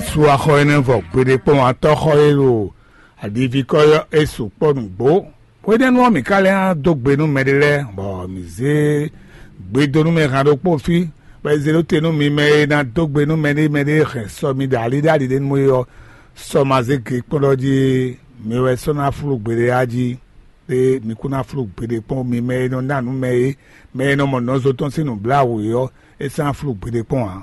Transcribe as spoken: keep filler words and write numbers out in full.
Sú axɔ énɛ́ vɔ gbeɖé kpɔ́n atɔ́xɔ e ɖo aɖivíkɔ ɔ́, é sukpɔ́ nǔgbó. Hwenɛ́nu ɔ́, mǐ ka lɛ́ ná dó gbe nú mɛɖé lɛ́ɛ, bɔ mǐ zé gbe dó nú mɛ han ɖokpó fí, bɔ è zě ɖó te nú mi mɛ e ná dó gbe nú mɛɖé mɛɖé e hɛn sɔ mi ɖo ali ɖo ali ɖé nú é ɔ́, sɔ ma zé gě kpɔ́n ɖɔ jí mi wɛ sɔ́ ná flú gbeɖé á jí. Ɖé mi kún ná flú gbeɖé kpɔ́n, mi mɛ e nɔ ná nǔ mɛ é, mɛ e nɔ mɔ nɔzo tɔn sín nǔbláwǔ é ɔ́, é sɔ́ ná flú gbeɖé kpɔ́n ǎ.